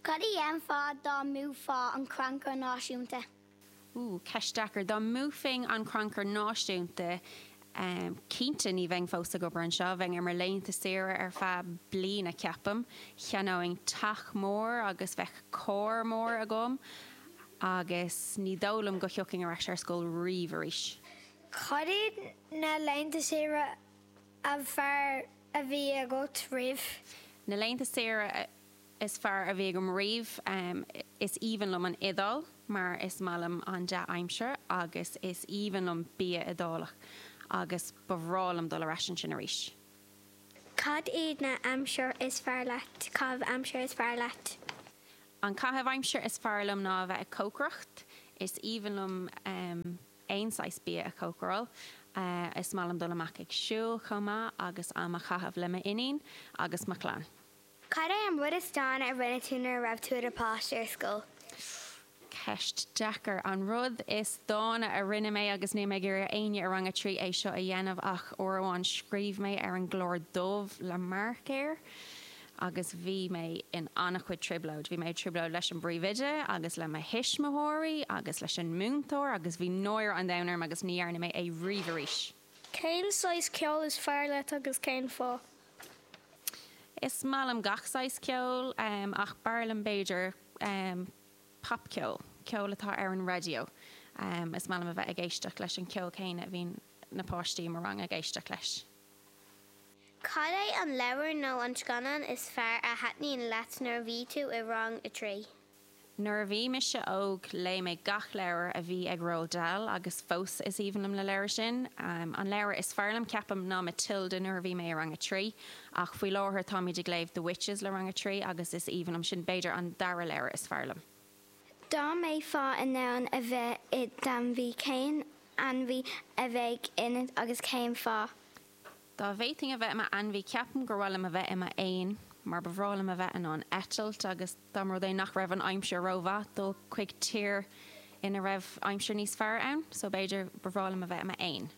Cad a dhéanfá dá mbuafá an Crannchur Náisiúnta? Ooh, ceist deacair. Dá mbuafainn an Crannchur Náisiúnta, cinnte ní bheinn fós ag obair anseo. Bheinn ar mo laethanta saoire ar feadh bliana, ceapaim. Cheannóinn teach mór agus bheadh carr mór agam agus ní dóigh liom go thiocfainn ar ais ar scoil riamh arís. Cad iad na laethanta saoire ab fearr a bhí agat riamh? Na laethanta saoire is fearr a bhí agam riamh, is aoibhinn liom an Iodáil mar is maith liom an dea-aimsir agus is aoibhinn liom bia Iodálach agus ba bhreá liom dul ar ais ansin arís. Cad iad na aimsir is fearr leat, caitheamh aimsire is fearr leat? An caitheamh aimsire is fearr liom ná a bheith ag cócaireacht. Is aoibhinn liom aon saghas bia a chócaráil. Is maith liom dul amach ag siúl chomh maith agus am a chaitheamh le m'iníon agus mo chlann. Cad é an rud is dána a rinne tú nuair a raibh tú i do pháiste ar scoil? Ceist deacair. An rud is dána a rinne mé, agus níl mé ag iarraidh ar éinne i rang a 3 é seo a dhéanamh, ach uair amháin scríobh mé ar an gclár dubh le marcóir agus bhí mé in an-chuid trioblóid. Bhí mé i dtrioblóid leis an bpríomhoide agus le mo thuismitheoirí agus leis an múinteoir agus bhí náire an domhain orm agus ní dhearna mé é riamh arís. Cén saghas ceoil is fearr leat agus cén fáth? Is maith liom gach saghas ceoil ach b'fhearr liom b'fhéidir popcheol, ceol atá ar an raidió. Is maith liom a bheith ag éisteacht leis an cheol céanna a bhíonn na páistí i mo rang ag éisteacht leis. Cad é an leabhar nó an scannán is fearr a thaitníonn leat nuair a bhí tú i rang a 3? Nuair a bhí mise óg léigh mé gach leabhar a bhí ag Roald Dahl agus fós is aoibhinn liom na leabhair sin. An leabhar is fearr liom ceapaim ná Matilda nuair a bhí mé i rang a 3 ach faoi láthair táimid ag léamh The Witches le rang a 3 agus is aoibhinn liom sin, b'fhéidir an dara leabhar is fearr liom. Dá mbeifeá in ann a bheith i d'ainmhí, cén ainmhí a bheadh ionat agus cén fáth? Dá bhféadfainn a bheith i m'ainmhí, ceapaim gur mhaith liom a bheith i m'éan, mar ba bhreá liom a bheith in ann eitilt agus dá mba rud é nach raibh an aimsir rómhaith, dul chuig tír ina raibh aimsir níos fearr ann. So b'fhéidir ba bhreá liom a bheith i m'éan.